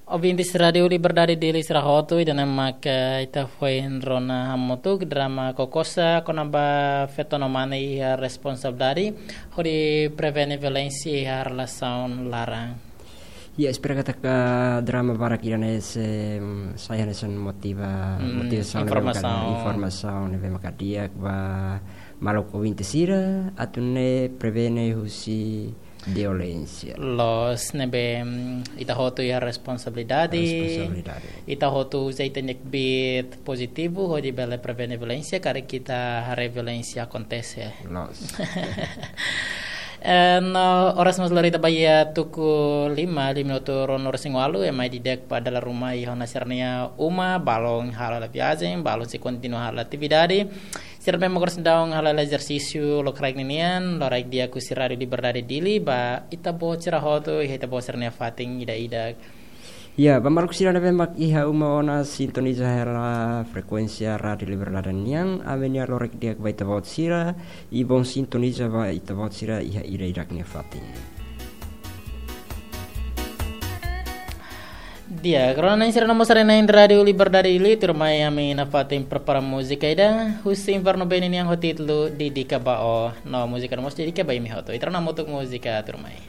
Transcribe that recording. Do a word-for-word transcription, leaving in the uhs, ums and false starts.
Ouvintes Rádiu Liberdade Dili sira hotu, ida-ne'e mak ita foin rona hamutuk drama Kokosa kona-ba feto no mane iha responsabilidade hodi prevene violénsia iha relasaun laran. Ya, espera katak drama barak ida-ne'e sei, mm, sai hanesan motiva, hmm, motivasaun, informasaun, informasaun ne'ebé maka di'ak ba maluk ouvinte sira atu nune'e prevene husi violénsia. Loos, ne'ebé, mm, ita hotu iha responsabilidade. Responsabilidade. Ita hotu uza ita-nia kbiit pozitivu hodi bele prevene violénsia, karik ita haree violénsia akontese. Loos. Eh, no oras mós lori ita ba iha tuku lima, lima minutu rua-nulu-resin-ualu, ema ida-idak ba dala ruma iha ona sira-nia uma, balun halo hela viajen, balun sei kontinua halo atividade. Sira ne'ebé mak oras ne'e daudaun halo hela ezersísiu lokraik ninian, loraik di'ak husi Rádiu Liberdade Dili, ba ita-boot sira hotu, iha ita-boot sira-nia fatin ida-idak. Ya, ba maluk sira ne'ebé mak iha uma ona sintoniza hela frekuénsia Rádiu Liberdade nian, ami-nia loraik di'ak ba ita-boot sira, i bom sintoniza ba ita-boot sira iha ida-idak nia fatin. Di'ak, rona-na'in sira no mós haree-na'in Rádiu Liberdade Dili, tuirmai ami nafatin prepara múzika ida husi Inverno Band nian ho títulu Dedika ba Ó. No múzika ne'e mós dedika ba imi hotu. Ita rona hamutuk múzika, tuirmai.